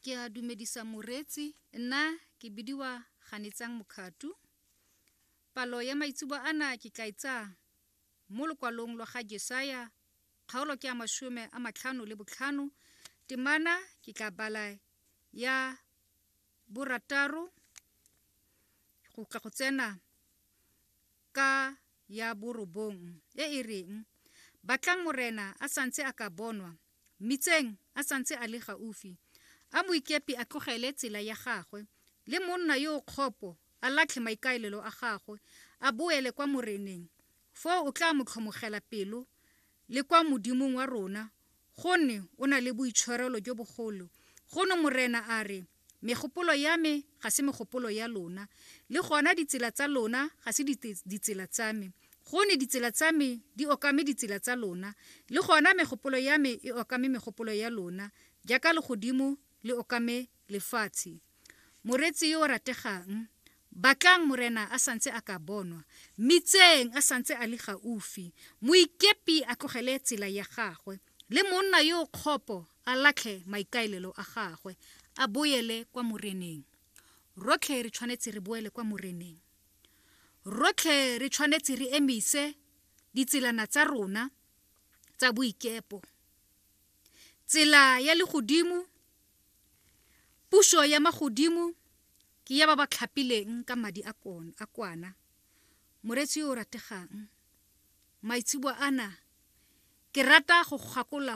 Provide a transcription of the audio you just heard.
Ke a dumedisa moreetsi, nna ke bidiwa Ganetsang Mokhatu. Palo ya maitseboa ana ke tla e tsaya mo lokwalong lwa ga Jesaya, kgaolo ke ya 55, temana ke tla bala ya borataro go tla go tsena ka ya borobong e e reng, Batlang Morena a sa ntse a ka bonwa, mmitseng a sa ntse a le gaufi. A moikepi a tlogele tsela ya gagwe, le monna yo o kgopo a latlhe maikaelelo a gagwe, a boele kwa Moreneng, foo o tla mo tlhomogela pelo, le kwa Modimong wa rona, gonne o na le boitshwarelo jo bogolo. Gonne Morena a re, Megopolo ya me ga se megopolo ya lona, le gona ditsela tsa lona ga se ditsela tsa me. Gonne ditsela tsa me di okame ditsela tsa lona, le gona megopolo ya me e okame megopolo ya lona, jaaka legodimo le okame lefatshe. Moreetsi yo o rategang, batlang Morena a sa ntse a ka bonwa, mmitseng a sa ntse a le gaufi. Moikepi a tlogele tsela ya gagwe, le monna yo o kgopo a latlhe maikaelelo a gagwe, a boele kwa Moreneng. Rotlhe re tshwanetse re boele kwa Moreneng. Rotlhe re tshwanetse re emise ditselana tsa rona tsa boikepo. Tsela ya legodimo, puso ya magodimo ke ya ba ba tlhapileng ka madi a kwana. Moreetsi yo o rategang, maitseboa ana ke rata go gakolola.